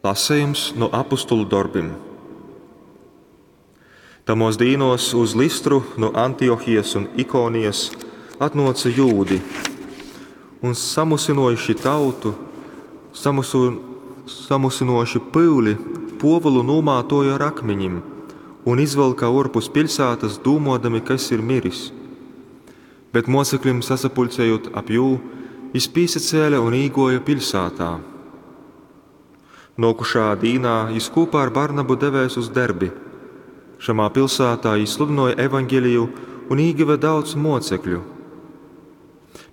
Lasejums nu Apostolu dorbim. Tamōs dīnōs uz Lystru nu Antiochijas un Ikonijas atnōce jūdi un samusynōjuši tautu, samusu, samusynōjuši pyuli, Pōvulu nūmātōja ar akmiņim un izvylka ōrpus piļsātas, dūmōdami, ka jys ir miris. Bet mōceklim sasapuļcejūt ap jū, jys pīsacēle un īgōja piļsātā. Nōkušā dīnā jys kūpā ar Barnabu devēs uz Derbi. Šamā pilsātā jī sludynōja evangeliju un īgyva daudz mōcekļu.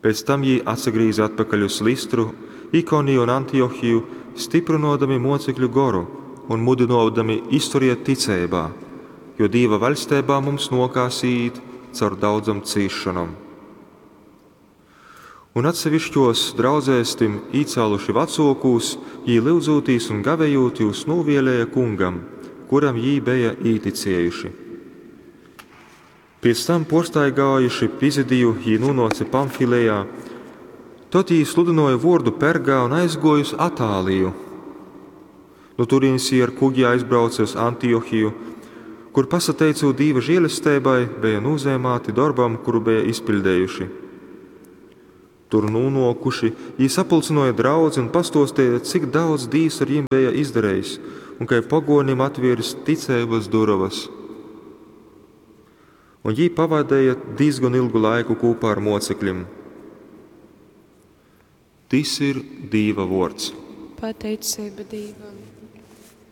Pēc tam jī atsagrīze atpakaļ uz Lystru, Ikoniju un Antiochiju, styprynōdami mōcekļu goru un mudynōdami izturiet ticeibā, jo Dīva vaļsteibā mums nōkās īīt caur daudzom cīsšonom. Un atsevišķos draudzēs tim īcāluši vacōkūs, jī lyudzūtīs un gavejūt jūs nūvēlēja kungam, kuram jī beja īticējuši. Pēc tam pōrstaigājuši Pizidiju, jī nūnōce Pamfilejā. Tod jī sludynōja vōrdu Pergā un aizgōja uz Atāliju. Nu turienes jī ar kugi aizbrauce uz Antiochiju, kur, pasateicūt Dīva žēlesteibai, beja nūzeimāti dorbam, kuru beja izpiļdejuši. Tur nūnōkuši, jī sapulcynōja draudzi un pastōsteja, cik daudz Dīvs ar jim beja izdarejis un kai pogōnim atvieris ticeibas durovas. Un jī pavadeja dīzgon ilgu laiku kūpā ar mōcekļim. Tys ir Dīva vōrds. Pateiceiba Dīvam.